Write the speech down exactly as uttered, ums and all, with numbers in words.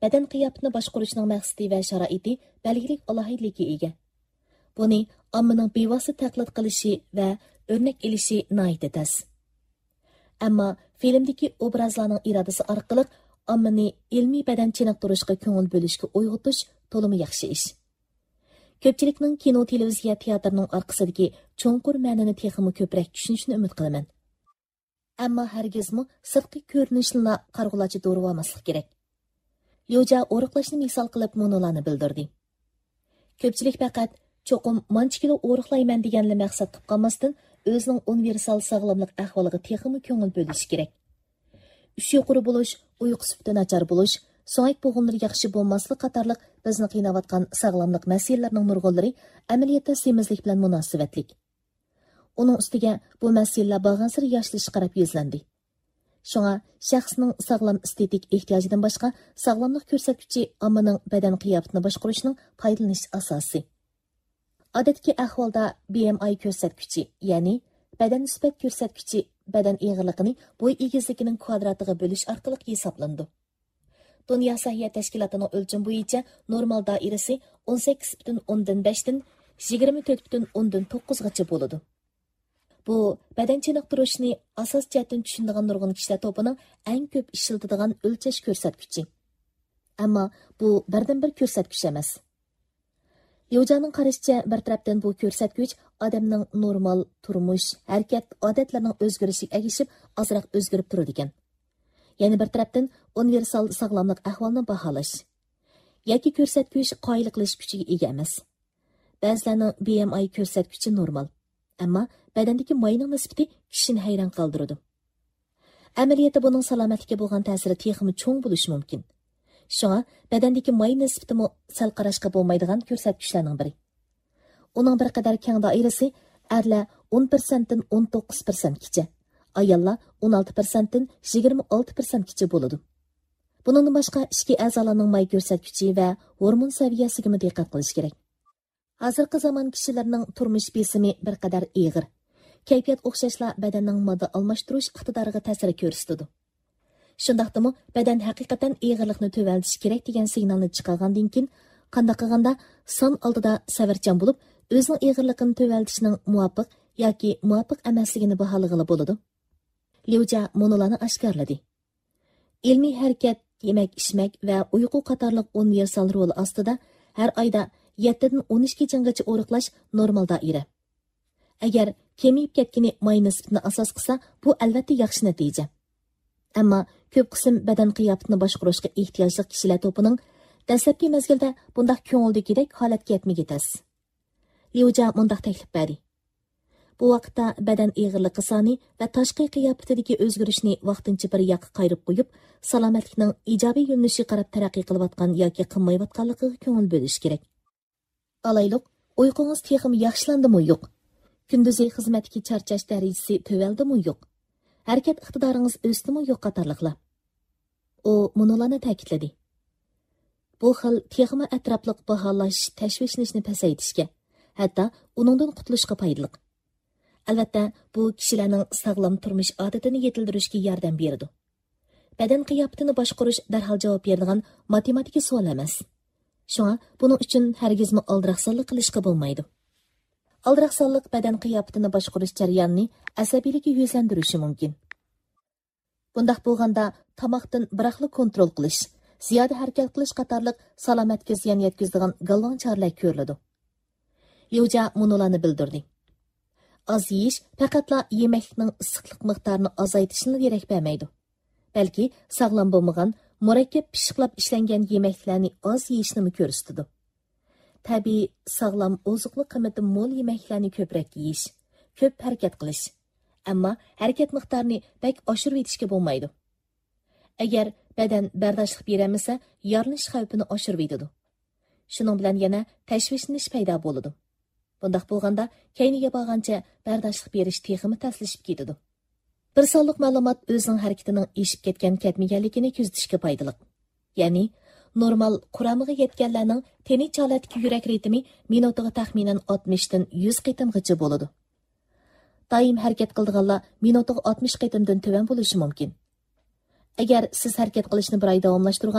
بەدەن قىياپىتىنى باشقۇرۇشنىڭ مەقسىتى ۋە شارائىتى بەلگىلىك ئالاھىدىلىككە ئىگە. بۇنى ئاممىنىڭ بىۋاسىتە تەقلىد قىلىشى ۋە ئۆرنەك ئېلىشى ناھايىتى تەس. ئەمما فىلىمدىكى ئوبرازلارنىڭ ئىرادىسى ئارقىلىق ئاممىنى ئىلمىي بەدەن چېنىقتۇرۇشقا كۆڭۈل بۆلۈشكە ئويغىتىش تولىمۇ ياخشى ئىش. كۆپچىلىكنىڭ كىنو، تېلېۋىزىيە تىياتىرىنىڭ ئارقىسىدىكى چوڭقۇر مەنىنى تېخىمۇ كۆپرەك چۈشىنىشىنى ئۈمىد قىلىمەن. ئەمما ھەرگىزمۇ سىرتقى كۆرۈنۈشنىلا قارىغۇلارچە دورىۋالماسلىق كېرەك. ليۇجيا ئورۇقلاشنى مىسال قىلىپ مۇنۇلارنى بىلدۈردى. كۆپچىلىك پەقەت چوقۇم مانچە كىلو ئورۇقلايمەن دېگەنلا مەقسەت قىلىپ قالماستىن، ئۆزىنىڭ ئۇنىۋېرسال ساغلاملىق ئەھۋالىغا تېخىمۇ كۆڭۈل بۆلۈشى كېرەك. ئۈش يۇقىرى بولۇش، ئۇيقۇ سۈپىتى ناچار بولۇش، سۆڭەك بوغۇملىرى ياخشى بولماسلىق قاتارلىق بىزنى قىيناۋاتقان ساغلاملىق مەسىلىلىرىنىڭ نۇرغۇنلىرى ئەمەلىيەتتە سېمىزلىك بىلەن مۇناسىۋەتلىك. ئۇنىڭ ئۈستىگە بۇ مەسىلىلەر بارغانسېرى ياشىلىشقا قاراپ يۈزلەندى. شۇڭا شەخسنىڭ ساغلام ئېستېتىك ئېھتىياجىدىن باشقا ساغلاملىق كۆرسەتكۈچى ئاممىنىڭ بەدەن قىياپىتىنى باشقۇرۇشنىڭ پايدىلىنىش ئاساسى. ئادەتتىكى ئەھۋالدا بى ئېم ئاي كۆرسەتكۈچى، يەنى بەدەن نىسبەت كۆرسەتكۈچى بەدەن ئېغىرلىقىنى بوي ئېگىزلىكىنىڭ كۋادراتىغا بۆلۈش ئارقىلىق ھېسابلىنىدۇ. دۇنيا سەھىيە تەشكىلاتىنىڭ ئۆلچىمى بويىچە نورمال دائىرىسى ئون سەككىز پۈتۈن ئوندىن بەشتىن يىگىرمە تۆت پۈتۈن ئوندىن توققۇزغىچە بولىدۇ. بۇ بەدەن چېنىقتۇرۇشنى ئاساس جەھەتتىن چۈشىنىدىغان نۇرغۇن كىشىلەر توپىنىڭ ئەڭ كۆپ ئىشلىتىدىغان ئۆلچەش كۆرسەتكۈچى. ئەمما بۇ بىردىنبىر كۆرسەتكۈچ ئەمەس. ليۇجيانىڭ قارىشىچە، بىر تەرەپتىن بۇ كۆرسەتكۈچ ئادەمنىڭ نورمال تۇرمۇش، ھەرىكەت ئادەتلىرىنىڭ ئۆزگىرىشىگە ئەگىشىپ ئازراق ئۆزگىرىپ تۇرىدىكەن. يەنە بىر تەرەپتىن ئۇنىۋېرسال ساغلاملىق ئەھۋالىنى باھالاش. ياكى كۆرسەتكۈچ قايىل قىلىش كۈچىگە ئىگە ئەمەس. بەزىلەرنىڭ بى ئېم ئاي كۆرسەتكۈچى نورمال. ئەمما بەدەندىكى ماينىڭ نىسبىتى كىشىنى ھەيران قالدۇرىدۇ. ئەمەلىيەتتە بۇنىڭ سالامەتلىككە بولغان تەسىرى تېخىمۇ چوڭ بولۇشى مۇمكىن. شۇڭا بەدەندىكى ماي نىسبىتىمۇ سەل قاراشقا بولمايدىغان كۆرسەتكۈچلەرنىڭ بىرى. ئۇنىڭ بىر قەدەر كەڭ دائىرىسى ئەرلەر ئون پىرسەنتتىن ئون توققۇز پىرسەنتكىچە، ئاياللار ئون ئالتە پىرسەنتتىن يىگىرمە ئالتە پىرسەنتكىچە بولىدۇ. بۇنىڭدىن باشقا ئىچكى ئەزالارنىڭ ماي كۆرسەتكۈچى ۋە ھورمون سەۋىيەسىگىمۇ دىققەت قىلىش كېرەك. ھازىرقى زامان كىشىلىرىنىڭ تۇرمۇش بېسىمى بىر قەدەر ئېغىر. كەيپىيات ئوخشاشلا بەدەننىڭ ماددا ئالماشتۇرۇش ئىقتىدارىغا تەسىر كۆرسىتىدۇ. شۇنداقتىمۇ بەدەن ھەقىقەتەن ئېغىرلىقنى تۆۋەنلىتىشى كېرەك دېگەن سىگنالنى چىقارغاندىن كېيىن، قانداق قىلغاندا سان ئالدىدا سەۋرچان بولۇپ، ئۆزىنىڭ ئېغىرلىقىنى تۆۋەنلىتىشنىڭ مۇۋاپىق ياكى مۇۋاپىق ئەمەسلىكىنى باھالىغىلى بولىدۇ؟ ليۇجيا مۇنۇلارنى ئاشكارىلىدى. ئىلمىي ھەرىكەت، يېمەك-ئىچمەك ۋە ئۇيقۇ قاتارلىق ئۇنىۋېرسال رولى ئاستىدا ھەر ئايدا يەتتىدىن ئون ئىككى جىڭغىچە ئورۇقلاش نورمال دائىرە. ئەگەر كېمىيىپ كەتكىنى ماي نىسبىتىنى ئاساس قىلسا، بۇ ئەلۋەتتە ياخشى نەتىجە. ئەمما كۆپ قىسىم بەدەن قىياپىتىنى باشقۇرۇشقا ئېھتىياجلىق كىشىلەر توپىنىڭ دەسلەپكى مەزگىلدە بۇنداق كۆڭۈلدىكىدەك ھالەتكە يەتمىگى تەس. ليۇجيا مۇنداق تەكلىپ بەردى. بۇ ۋاقىتتا بەدەن ئېغىرلىقى سانى ۋە تاشقى قىياپىتىدىكى ئۆزگىرىشنى ۋاقتىنچە بىر ياققا قايرىپ قويۇپ، سالامەتلىكنىڭ ئىجابىي يۆنىلىشىگە قاراپ تەرەققىي قىلىۋاتقان ياكى قىلمايۋاتقانلىقىغا كۆڭۈل بۆلۈش كېرەك. ئالايلۇق، ئۇيقۇڭىز تېخىمۇ ياخشىلاندىمۇ يوق؟ كۈندۈزى خىزمەتتىكى چارچاش دەرىجىسى تۆۋەندىمۇ يوق؟ ھەرىكەت ئىقتىدارىڭىز ئۆستىمۇ يوق قاتارلىقلار. ئۇ مۇنۇلارنى تەكىتلىدى. بۇ خىل تېخىمۇ ئەتراپلىق باھالاش تەشۋىشلىنىشنى پەسەيتىشكە، ھەتتا ئۇنىڭدىن قۇتۇلۇشقا پايدىلىق. ئەلۋەتتە، بۇ كىشىلەرنىڭ ساغلام تۇرمۇش ئادىتىنى يېتىلدۈرۈشكە ياردەم بېرىدۇ. بەدەن قىياپىتىنى باشقۇرۇش دەرھال جاۋاب بېرىدىغان ماتېماتىكا سوئال ئەمەس. شۇڭا بۇنىڭ ئۈچۈن ھەرگىزمۇ ئالدىراقسانلىق قىلىشقا بولمايدۇ. ئالدىراقسانلىق بەدەن قىياپىتىنى باشقۇرۇش جەريانىنى ئەسەبىيلىككە يۈزلەندۈرۈشى مۇمكىن. بۇنداق بولغاندا، تاماقتىن بىراقلا كونترول قىلىش، زىيادە ھەرىكەت قىلىش قاتارلىق سالامەتكە زىيان يەتكۈزىدىغان گالۋاڭ چارىلەر كۆرۈلىدۇ. ليۇجيا مۇنۇلارنى بىلدۈردى. ئاز يېيىش پەقەتلا يېمەكلىكنىڭ ئىسسىقلىق مىقدارىنى ئازايتىشنىلا دېرەك بەرمەيدۇ، بەلكى ساغلام بولمىغان، مۇرەككەپ پىششىقلاپ ئىشلەنگەن يېمەكلىكلەرنى ئاز يېيىشنىمۇ كۆرسىتىدۇ. تەبىئىي، ساغلام، ئوزۇقلۇق قىممىتى مول يېمەكلىكلەرنى كۆپرەك يېيىش، كۆپ ھەرىكەت قىلىش. ئەمما ھەرىكەت مىقدارىنى بەك ئاشۇرۇۋېتىشكە بولمايدۇ. ئەگەر بەدەن بەرداشلىق بېرەلمىسە، يارىلىنىش خەۋپىنى ئاشۇرۇۋېتىدۇ. شۇنىڭ بىلەن يەنە تەشۋىشلىنىش پەيدا بولىدۇ. بۇنداق بولغاندا، كەينىگە بارغانچە بەرداشلىق بېرىش تېخىمۇ تەسلىشىپ كېتىدۇ. بىر سانلىق مەلۇمات ئۆزىنىڭ ھەرىكىتىنىڭ ئېشىپ كەتكەن-كەتمىگەنلىكىنى كۆزىتىشكە پايدىلىق. يەنى، نورمال قۇرامىغا يەتكەنلەرنىڭ تېنىچە ھالەتتىكى يۈرەك رىتىمى مىنۇتىغا تەخمىنەن ئاتمىشتىن يۈز قېتىمغىچە بولىدۇ. دائىم ھەرىكەت قىلىدىغانلار مىنۇتىغا ئاتمىش قېتىمدىن تۆۋەن بولۇشى مۇمكىن. ئەگەر سىز ھەرىكەت قىلىشنى بىر ئاي داۋاملاشتۇرغان